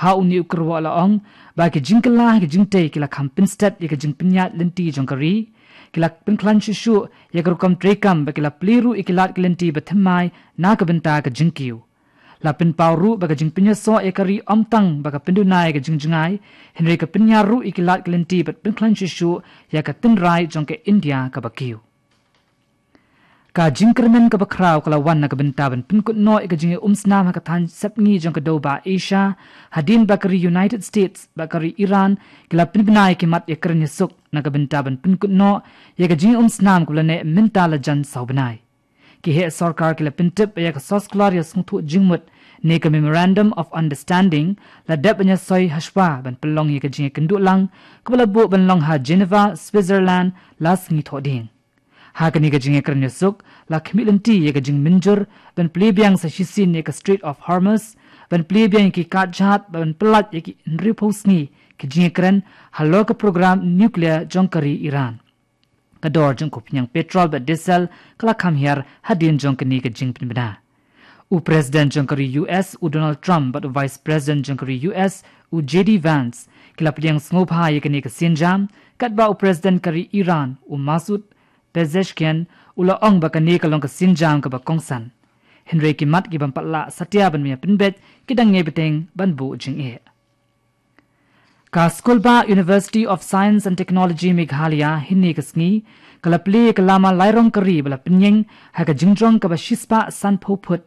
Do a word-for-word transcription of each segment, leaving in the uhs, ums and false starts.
Ha une u kyrwoh la ong ba ki jingkylla ha ki jingtei ki la kham pynstet ïa ka jingpynïaid lynti jong ka ri, ki la pynkhlaiñ shuh shuh ïa ka rukom treikam ba ki la plie ruh ïa ki lad ki lynti ba thymmai na ka bynta ka jingkiew. La pynpaw ruh ba ka jingpynïasoh ïa ka ri ym tang ba ka pynduna ïa ka jingjngai, hynrei ka pynïar ruh ïa ki lad ki lynti bad pynkhlaiñ shuh shuh ïa ka tynrai jong ka India kaba kiew. Ka jingkyrmen kaba khraw ka la wan na ka bynta ban pynkut noh ïa ka jingïaumsnam ha ka thaiñ sepngi jong ka dewbah Asia, hadien ba ka ri United States bad ka ri Iran ki la pynbna ïa ki mat ïakren ïasuk na ka bynta ban pynkut noh ïa ka jingïaumsnam kaba la neh mynta la jan saw bnai. Ki heh sorkar ki la pyntip ba ïa ka soskular ïasngewthuh jingmut ne ka Memorandum of Understanding la dep ban ïasoi hashwa ban pynlong ïa ka jingïakynduh lang kaba la buh ban long ha Geneva, Switzerland la sngi Thohdieng. Ha kane ka jingïakren ïasuk la khmih lynti ïa ka jingmynjur ban plie biang sa shisien ïa ka Strait of Hormuz, ban plie biang ïa ki katjhat, ban pyllait ïa ki hynriewphew sngi ki jingïakren halor ka program nuclear jong ka ri Iran. Ka dor jong ka pynïang petrol bad diesel ka la kham hiar hadien jong kane ka jingpynbna. U President jong ka ri U S u Donald Trump bad u Vice President jong ka ri U S u J D Vance ki la pdiang sngewbha ïa kane ka sienjam, katba u President ka ri Iran u Masoud Pezeshkian u la ong ba kane ka long ka sienjam kaba kongsan. Hynrei ki mat ki bym pat lah satia ban ïa pynbeit ki dang ngeit bteng ban buh jingeh. Ka skulbah University of Science and Technology Meghalaya hynne ka sngi ka la plie ïa ka lama lairong ka ri ba la pynïeng ha ka jingjrong kaba shispah sanphew phut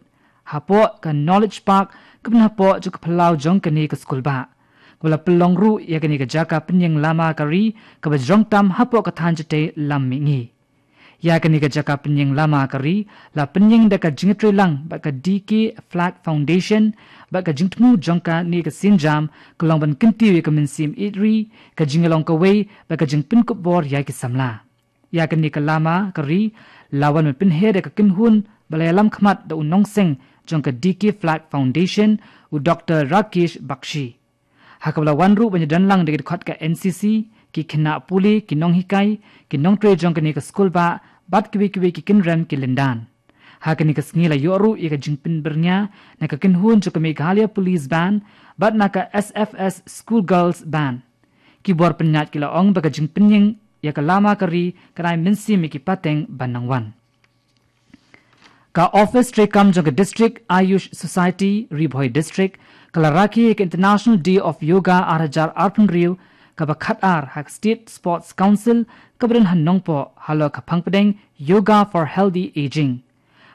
hapoh ka Knowledge Park kaba hapoh jong ka phyllaw jong kane ka skulbah. Kaba la pynlong ruh ïa kane ka jaka pynïeng lama ka ri kaba jrong tam hapoh ka thaiñ jatei lam mihngi. Ïa kane ka jaka pynïeng lama ka ri la pynïeng da ka jingïatreilang bad ka D K Flag Foundation bad ka jingthmu jong kane ka sienjam ka long ban kyntiew ïa ka mynsiem ïeit ri, ka jingïalong kawei bad ka jingpynkup bor ïa ki samla. Ïa kane ka lama ka ri la wan ban pynher ïa ka kynhun ba la ïalam khmat da u nongseng jong ka D K Flag Foundation, u Doctor Rakesh Bakshi. Ha kaba la wan ruh ban ïadon lang da ki dkhot ka N C C, ki khynnah pule, ki nonghikai, ki nongtrei jong kane ka skulbah bad kiwei kiwei ki kynrem ki lyndan. Ha kane ka sngi la ïoh ruh ïa ka jingpynbyrngia na ka kynhun jong ka Meghalaya Police Band bad na ka S F S School Girls Band. Ki bor pynïaid ki la ong ba ka jingpynïeng ïa ka lama ka ri ka dei mynsiem ïa ki pateng ban nang wan. Ka office treikam jong ka District Ayush Society Ri Bhoi District ka la rakhe ïa ka International Day of Yoga ar hajar arphew hynriew kaba khatar ha ka State Sports Council kaba don ha Nongpoh halor ka phang pdeng Yoga for Healthy Aging.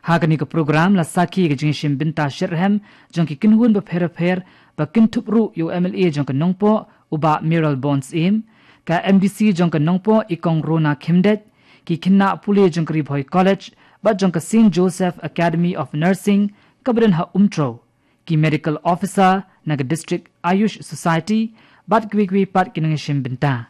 Ha kane ka program la sakhi ïa ka jingïashim bynta shitrhem jong ki kynhun bapher bapher ba kynthup ruh ïa u M L A jong ka Nongpoh u Bah Mayralborn Syiem, ka M D C jong ka Nongpoh i Kong Rona Khymdeit, ki khynnah pule jong ka Ri Bhoi College bad jong ka Saint Joseph Academy of Nursing kaba don ha Umtrew, ki medical officer na ka District Ayush Society bad kiwei kiwei pat ki nongïashim bynta.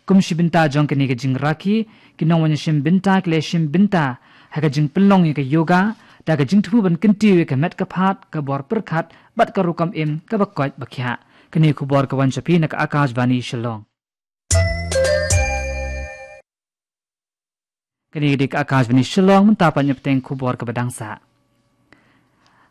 Kum shi bynta jong kane ka jingrakhe, ki nongwan ïashim bynta ki la ïashim bynta ha ka jingpynlong ïa ka yoga da ka jingthmu ban kyntiew ïa ka met ka phad, ka bor pyrkhat bad ka rukom im kaba koit ba khiah. Kane ka khubor ka wan sha phi na ka Akashvani Shillong. Kane ka dei ka Akashvani Shillong, mynta pat ngin ïa bteng khubor kaba dang sah.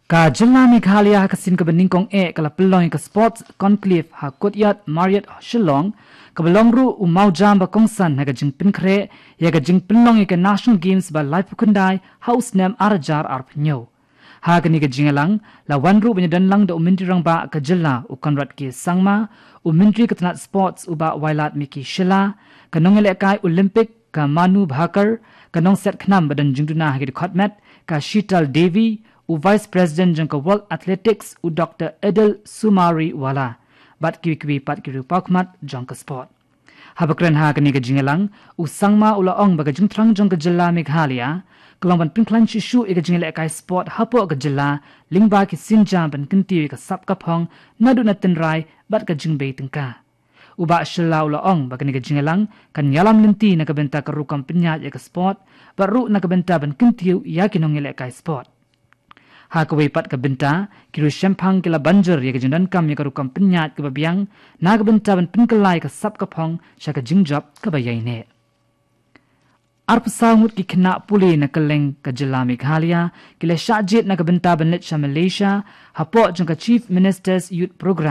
Ka jylla Meghalaya ha ka sien kaba nyngkong eh ka la pynlong ïa ka Sports Conclave ha Courtyard Marriott Shillong, kaba long ruh u mawjam ba kongsan ha ka jingpynkhreh ïa ka jingpynlong ïa ka National Games ba laiphew khyndai ha u snem ar hajar arphew hynñiew. Ha kane ka jingïalang la wan ruh ban ïadon lang da u Myntri Rangbah ka jylla u Conrad K Sangma, u Myntri ka tnat Sports u Bah Wailadmiki Shylla, ka nongïalehkai Olympic ka Manu Bhaker, ka nongset khnam ba don jingduna ha ki dkhot met ka Sheetal Devi, u Vice President jong ka World Athletics u Doctor Edel Sumariwala bad kiwei kiwei pat ki riewpawkhmat jong ka sport. Haba kren ha kane ka jingïalang, u Sangma u la ong ba ka jingthrang jong ka jylla Meghalaya ka long ban pynkhlaiñ shuh shuh ïa ka jingïalehkai sport hapoh ka jylla lyngba ki sienjam ban kyntiew ïa ka sap ka phong naduh na tynrai bad ka jingbei tyngka. U Bah Shylla u la ong ba kane ka jingïalang kan ïalam lynti na ka bynta ka rukom pynïaid ïa ka sport bad ruh na ka bynta ban kyntiew ïa ki nongïalehkai sport. Ha kawei pat ka bynta, ki riewshemphang ki la ban jur ïa ka jingdonkam ïa ka rukom pynïaid kaba biang na ka bynta ban pynkylla ïa ka sap ka phong sha ka jingjop kaba ïaineh. Arphew saw ngut ki khynnah pule na kylleng ka jylla Meghalaya ki la shah jied na ka bynta ban leit sha Malaysia hapoh jong ka Chief Minister's Youth Programme.